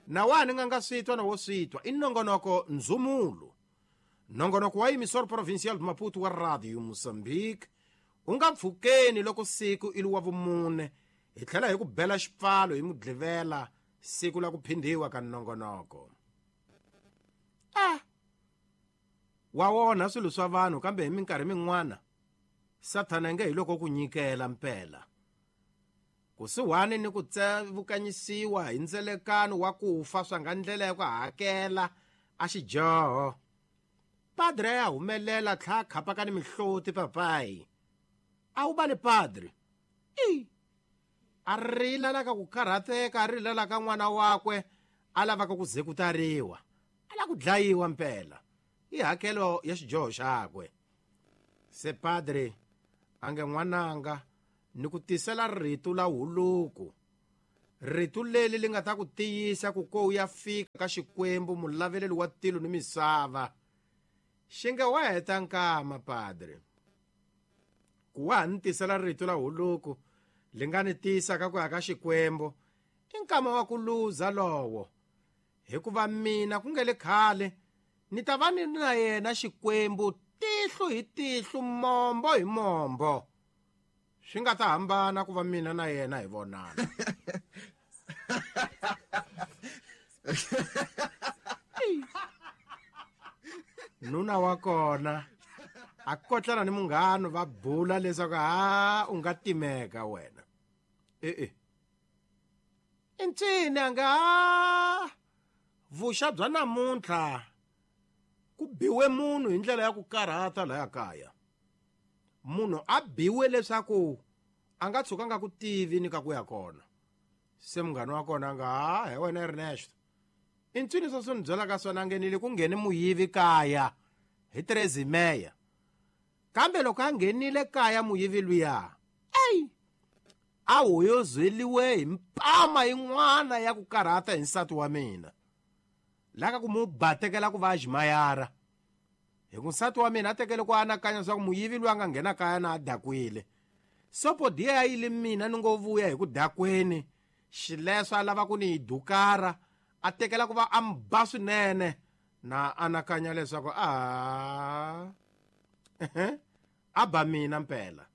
Na wa ni nga nga swi twa na wo swi twa i nongonoko ndzumulo. Nongonoko wa Emissor Provincial de Maputo wa Radio Mozambique u nga pfukeni loko siku i wa vumune hi tlhela hi ku bela xipfalo hi mudlivela siku la ku phindhiwa ka nongonoko. Wa wona swilo swa vanhu kambe hi minkarhi min'wana Sathana nge hi loko ku nyikela mpela. Kusuhani ni ku tsevukanyisiwa hi ndzelekano wa ku fa swa nga ndlela ya ku hakela a xidyoho. Padre ya humelela tlha khapaka ni mihloti papayi. A wu bale padre. I a rila la ka ku karhateka, a rila la ka n'wana wakwe a lavaka ku zekutariwa, a la ku dlayiwa mpela. I hakelo ya xidyoho xakwe. Se padre a nge n'wananga ni ku tisela rito la huluku. Rito leri li nga ta ku tiyisa ku ko u ya fika ka Xikwembu mulaveleli wa tilo ni misava. Xi nge wa heta nkama padre. Ku wa ha ni tisela rito la huluku li nga ni tiyisa ka ku ya ka Xikwembu i nkama wa ku luza lowo. Hikuva mina ku nge le khale ni ta va ni na yena Xikwembu tihlo hi tihlo, mombo hi mombo. Swi nga ta hambana ku va mina na yena hi vonana. Nuna wa kona a kotlana ni munghano va bula leswaku ha u nga timeka wena. E-e. I ncini a nga vuxa bya namuntlha ku biwe munhu hi ndlela ya ku karhata laya kaya. Munhu a biwe leswaku a nga tshuka nga ku tivi ni ka ku ya kona. Se munghana wa kona a nga ha he wena Ernesto. I ncini sweswo ni byelaka swona ngenile ku nghene muyivi kaya hi Trezimeya. Kambe loko a nghenile kaya muyivi luya, ey a hoyozeliwe hi mpama yin'wana ya ku karhata hi nsati wa mina. Laka ku mu batekela ku va a ximayara. Hi ku nsati wa mina a tekele ku anakanya leswaku muyivi loyi a nga nghena kaya na a dakwile. Sopo diya ya yile mina ni ngo vuya hi ku dakweni. Xileswo a lava ku ni yi dukara, a tekela ku va a mi ba swinene. Na anakanya leswaku a a ba mina mpela.